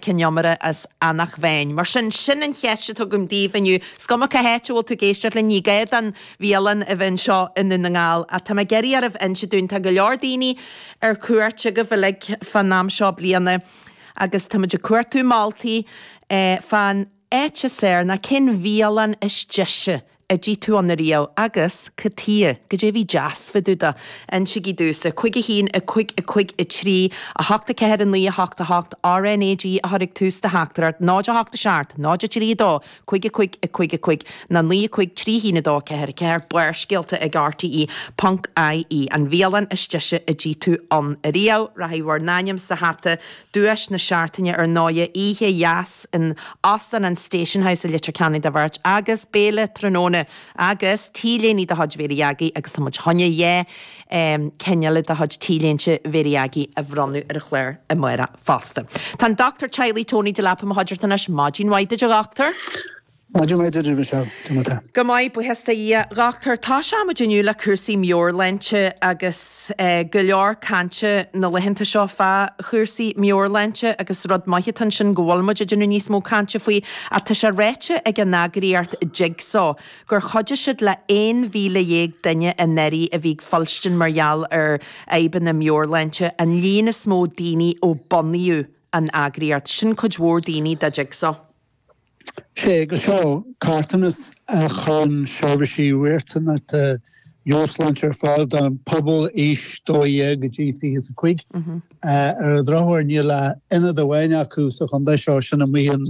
Cionn Iomaire as Eanach Mheáin. Mar sin, sin an cheist atá agam daoibh inniu. Is cuma cá háit a bhfuil tú ag éisteacht linn, ní gá don bhialann a bheith anseo i nDún na nGall, ach tá mé ag iarraidh oraibh inse dúinn, tá go leor daoine ar cuairt agaibh uilig fán am seo bliana agus táimid ag cuartú moltaí fán áit is fearr nó cén bhialann is deise a d'ith tú ann ariamh agus cad tuighe, goidé a bhí deas fá dtaobh de. Insígí domhsa. 5 1 5 5 3 8 4 9 8 8 RNAG a chur ag tús do theachtaireacht 0 8 7 0 3 2 5 5 5 5 nó 9 5 3 1 2 4 4 Barrscéalta ag RTÉ ponc IE An bhialann is deise a d'ith tú ann ariamh. Rachaidh bhur n-ainm sa hata Duais na seachtaine ar ndóighe, oíche dheas in Óstán an Station House i Leitir Ceanainn do bheirt agus béile tráthnóna agus T-léine de chuid Mhéirí Aggie agus tá muid chun dhá ceann eile de chuid T-léinte Mhéirí Aggie a bhronnadh ar an chlár amárach fosta. Tá an Dochtúir Teaghlaigh Tony Delap i mo chuideachta anois. Maidin mhaith duit a dhochtúir. Maidin mhaith duit, Michelle. Cad é mar atá? Go maith, buíochas do Dhia. A dhochtúir, tosóimid inniu le cúrsaí meabhairshláinte agus go leor cainte na laethanta seo fá chúrsaí meabhairshláinte agus rud maith atá ansin go bhfuil muid ag déanamh níos mó cainte faoi ach tá sé ráite ag an eagraíocht Jigsaw gur chuidigh siad le 11,000 duine anuraidh a bhí ag fuilstin mar gheall ar fhadhbanna meabhairshláinte, an líon is mó daoine ó bunaíodh an eagraíocht. Sin cuid mhór daoine do Jigsaw. Sé agus seo carthanas a chuireann seirbhísí riachtanacha meabhairshláinte ar fáil don phobal aois 12 go dtí 25. Ar an drochuair níl ach ionad amháin acu sa chontae seo, sin amuigh in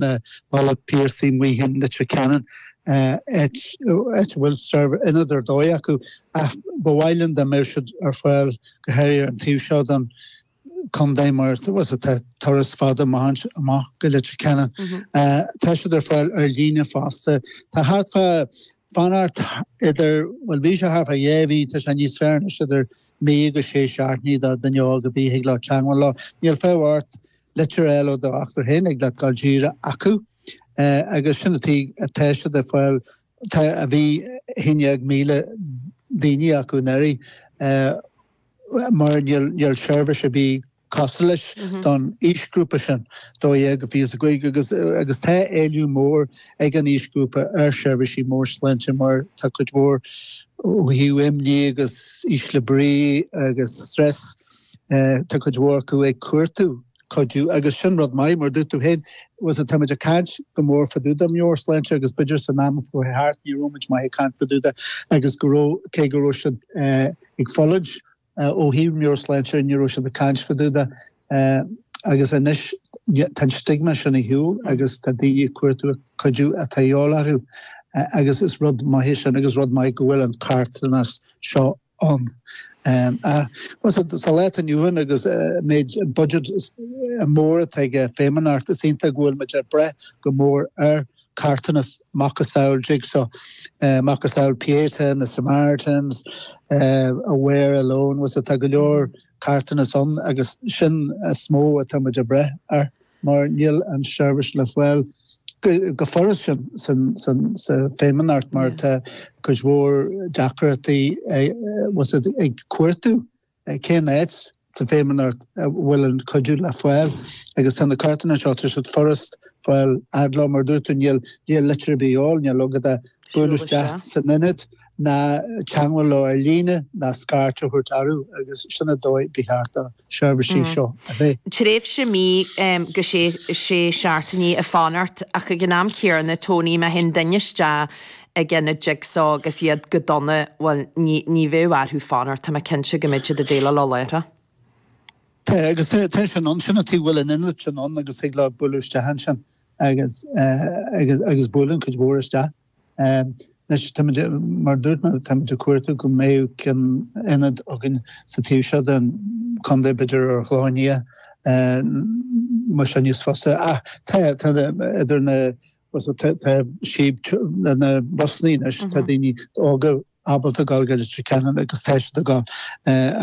Bealach Piarsaigh amuigh in Leitir Ceanainn, áit a bhfuil ionad ar dóigh acu ach ba mhaith linn dá mbeadh siad ar fáil go háirithe ar an taobh seo den contae mar tá turas fada amach amach go Leitir Ceanainn. Tá siad ar fáil ar líne fosta. Tá thart fá fanacht idir, bhuel bhí sé thart fá dhá mhí, tá sé níos fearr anois idir mí agus sé seachtainí do dhuine óg ar bith thig leo teagmháil leo. Níl fonn ort litir a fháil ó do dhochtúir féin, thig leat dul díreach acu agus sin an tuige atá siad ar fáil. Tá a bhí 11,000 daoine acu anuraidh. mar níl seirbhís ar bith cosúil leis don aoisghrúpa sin, 12 go 25, agus agus tá éileamh mór ag an aoisghrúpa ar sheirbhísí meabhairshláinte mar tá cuid mhór ó thaobh imní agus ísle brí agus stress, tá cuid mhór acu ag cuartú cuidiú agus sin rud maith mar dúirt tú féin, táimid ag caint go mór fá dtaobh de meabhairshláinte agus b'fhéidir san am a chuaigh thart ní raibh muid maith ag caint fá dtaobh de agus go raibh, cé go raibh siad ag fulaingt ó thaobh meabhairshláinte ní raibh siad ag caint fá dtaobh de agus anois tá an stigma sin ar shiúl agus tá daoine ag cuartú cuidiú atá de dhíobháil orthu agus is rud maith é sin agus rud maith go bhfuil an carthanas seo ann. Sa lá atá inniu ann agus méid an budget mór atá ag an Feidhmeannacht is iontach go bhfuil muid ag brath go mór ar carthanas macasamhail Jigsaw, macasamhail Pieta, na Samaritans, Aware Alone, tá go leor carthanas ann agus sin is mó atá muid ag brath air. mar níl an seirbhís le fáil go furast sin sa Feidhmeannacht mar tá cuid mhór deacrachtaí ag cuartú cén áit sa Feidhmeannacht a bhfuil an cuidiú le fáil agus tá na carthanna seo tá siad furast fáil fhad leo mar dúirt tú níl litir ar bith de dhíobháil, níl agat ach bualadh isteach san ionad ná teagmháil leo ar líne ná scairt a thabhairt orthu agus sin an dóigh ba cheart do sheirbhísí seo a bheith. Tréimhse mí go sé sé seachtainí ag fanacht ach ag an am céanna, Tony, má théann duine isteach ag ionad Jigsaw agus iad go dona, bhuel, ní ní bheadh orthu fanacht, tá mé cinnte go mbeidh siad ag déileáil leo láithreach. Tá, agus tá sin ann, sin an tuige a bhfuil an ionad sin ann agus thig leo bualadh isteach ansin agus agus agus buaileann cuid mhór isteach. Anois, táimid, mar a dúirt mé, táimid ag cuartú go mbeadh ceann ionad againn sa taobh seo den chontae, b'fhéidir ar an Chlochán Liath, mar sin níos fusa. Ach tá, tá idir na, tá síob le na busannaí anois, tá daoine óga ábalta dul go Leitir Ceanainn agus tá siad ag dul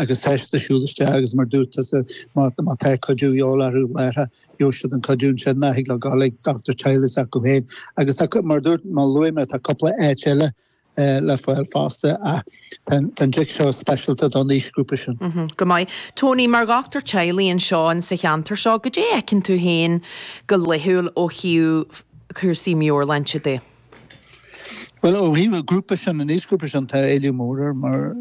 agus tá siad ag siúl isteach agus mar dúirt tusa má tá cuidiú de dhíobháil orthu láithreach gheobhaidh siad an cuidiú ansin nó thig leo dul ag dochtúir teaghlaigh s'acu féin agus tá mar dúirt má luaigh mé tá cúpla áit eile. le fáil fosta ach tá an dtic seo speisialta don aoisghrúpa sin. Go maith. Tony, mar dhochtúir teaghlaigh anseo in sa cheantar seo, goidé a fheiceann tú féin go laethúil ó thaobh cúrsaí meabhairshláinte de? Bhuel, ó thaobh an ghrúpa sin, an aoisghrúpa sin, tá éileamh mór air mar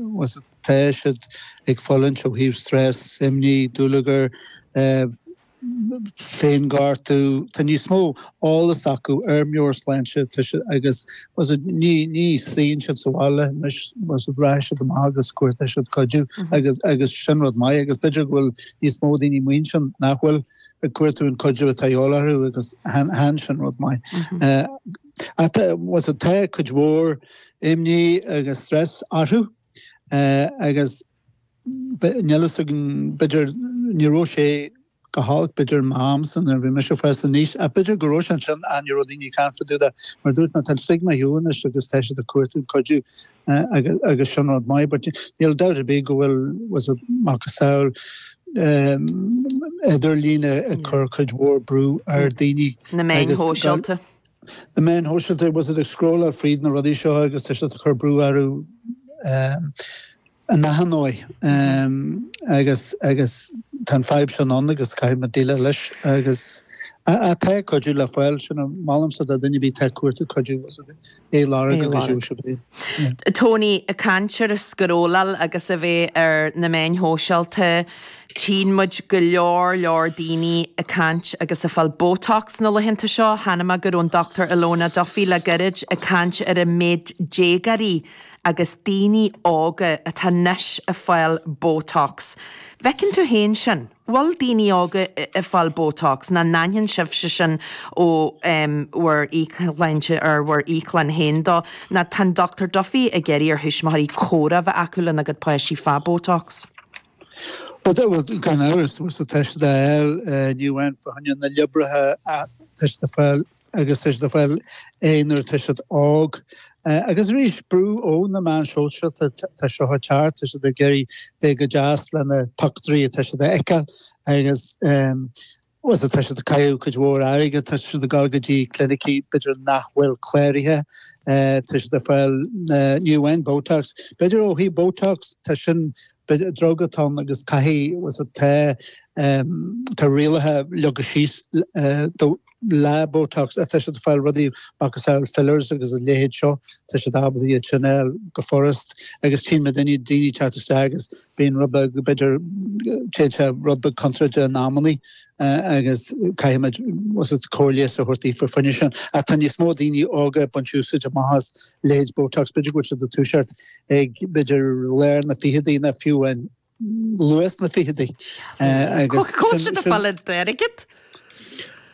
tá siad ag fulaingt ó thaobh stress, imní, dúlagar, féinghortú, tá níos mó eolas acu ar meabhairshláinte tá siad agus ní ní suíonn siad sa bhaile anois rachaidh siad amach agus cuartóidh siad cuidiú agus agus sin rud maith agus b'fhéidir go bhfuil níos mó daoine amuigh ansin nach bhfuil ag cuartú an cuidiú atá de dhíobháil orthu agus chan sin rud maith. Ach tá cuid mhór imní agus stress orthu agus Níl fhios againn, b'fhéidir, ní raibh sé go holc, b'fhéidir, m'amsa nuair a bhí mise ag fás aníos, ach b'fhéidir go raibh sé ansin ach ní raibh daoine ag caint fá dtaobh de. Mar a dúirt mé, tá an stigma ar shiúl anois agus tá siad ag cuartú cuidiú agus sin rud maith. But níl dabht ar bith go bhfuil, was it, macasamhail idirlín ag cur cuid mhór brú ar daoine. Na meáin shóisialta. Na meáin shóisialta, was it, ag scrolláil fríd na rudaí seo agus tá siad ag cur brú orthu. In achan ndóigh, agus agus tá an fadhb sin ann agus caithfidh muid déileáil leis agus tá cuidiú le fáil, sin a mholaimse do dhuine ar bith atá ag cuartú cuidiú é a lorg agus gheobhaidh siad é. Tony, ag caint ar an scrolláil agus a bheith ar na meáin shóisialta, tchíonn muid go leor leor daoine ag caint agus ag fáil Botox na laethanta seo. Chonaic mé go raibh an Dr Ilona Duffy le gairid ag caint ar an méid déagóirí agus daoine óga atá anois ag fáil Botox. Bhfeiceann tú féin sin? Bhfuil daoine óga ag fáil Botox? Nó an n-aithníonn sibhse sin ó bhur íocshláinte ar bhur íocshláin féin dó? Nó tá an Dr Duffy ag iarraidh ar thuismitheoirí comhrá a bheith acu lena gcuid páistí fá Botox. Bhuel, gan amhras, tá siad á fháil, ní amháin fá choinne na liobraithe ach tá siad ag fáil agus tá siad ag fáil é nuair atá siad óg. Agus arís, brú ó na meáin shóisialta, tá seo ag teacht, tá siad ag iarraidh bheith go deas le na pictiúirí atá siad a fheiceáil agus bhuel, tá siad ag caitheamh cuid mhór airgid, tá siad ag dul go dtí clinicí b'fhéidir nach bhfuil cláraithe, tá siad ag fáil ní amháin Botox, b'fhéidir ó thaobh Botox, tá sin, drug atá ann agus caithfidh, bhuel, tá, tá rialacha leagtha síos do le Botox, tá siad ag fáil rudaí macasamhail fillers agus a leithéid seo, tá siad ábalta iad sin a fháil go furast agus tchíonn muid daoine ag teacht isteach agus bíonn rud beag, b'fhéidir, téann sé rud beag contráilte in amannaí agus caithfidh muid was it cóir leighis a thabhairt daofa fá choinne sin. Ach tá níos mó daoine óga ag baint úsáid amach as leithéid Botox, b'fhéidir go bhfuil siad ag toiseacht ag b'fhéidir lár na fichidí nó fiú an luath sna fichidí. Agus Cá bhfuil siad ag fáil an t-airgead?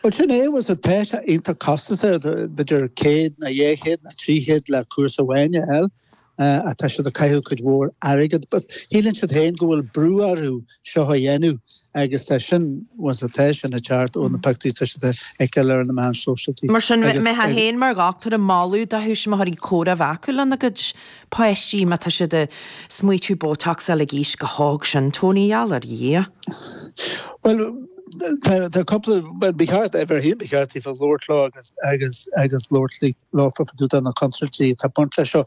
Bhuel sin é, was it, tá sé iontach costasach, b'fhéidir 100 nó 200 nó 300 le cúrsa amháin a fháil, ach tá siad ag caitheamh cuid mhór airgid. But shíleann siad féin go bhfuil brú orthu seo a dhéanamh agus tá sin, was it, tá sin ag teacht ó na pictiúirí atá siad a fheiceáil ar na meáin sóisialta. Mar sin, mbeifeá féin mar dhochtúir ag moladh do thuismitheoirí comhrá a bheith acu lena gcuid páistí má tá siad ag smaoitiú Botox a fháil ag aois chomh hóg sin, Tony, gheall ar Dhia. Bhuel, tá tá cúpla, bhuel, ba cheart, ar bheith ba cheart daofa labhairt leo agus agus agus labhairt leofa fá dtaobh de na contúirtí atá ag baint leis seo.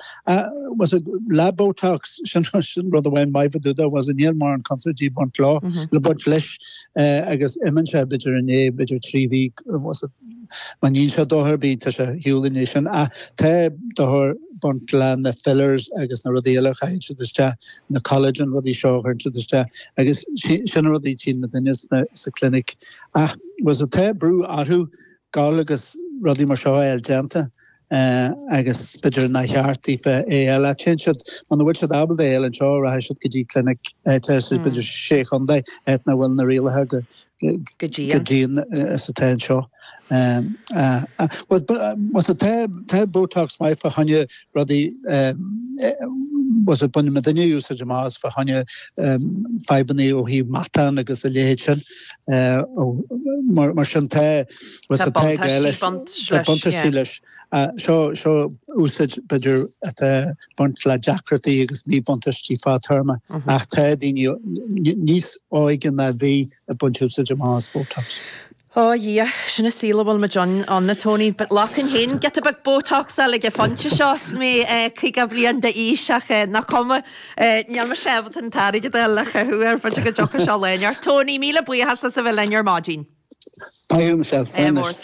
Was it le Botox, sin sin rud amháin maith fá dtaobh de, was it níl mórán contúirtí ag baint leo, le baint leis agus imíonn sé b'fhéidir i ndiaidh b'fhéidir 3 mhí, was it Má níonn sé dochar ar bith, tá sé ar shiúl i ndiaidh sin. Ach tá dochar ag baint le na fillers agus na rudaí eile a chaitheann siad isteach, na collagen rudaí seo a chuireann siad isteach agus sin na rudaí a tchíonn muidinne sa clinic. Ach was it tá brú orthu gabháil agus rudaí mar seo a fháil déanta agus b'fhéidir nár cheart daofa é a fháil. Ach téann siad, muna bhfuil siad ábalta é a fháil anseo, rachaidh siad go dtí clinic áit b'fhéidir sé chontae, áit nach bhfuil na rialacha go go dian. Go dian is atá anseo. Was it tá Botox maith fá choinne rudaí was it baineann muidinne úsáid amach as fá choinne fadhbanna ó thaobh matán agus a leithéid sin. Mar sin tá was it tá gá leis tá buntáistí leis. Seo seo úsáid b'fhéidir atá ag baint le deacrachtaí agus míbhuntáistí fadtéarma ach tá daoine níos óige ná bhí ag baint úsáid amach as Botox. Ó a Dhia, sin an saol a bhfuil muid ann, a Tony. But ghlacfainn féin giota beag Botox-áil ag an phointe seo is mé 50 bliain d'aois ach nach cuma, níl mise ábalta an t-airgead a fháil le caitheamh air, b'fhéidir go dtiocfaidh sé lá inteacht. Tony, míle buíochas as a bheith linn ar maidin. Maith thú Michelle, slán anois.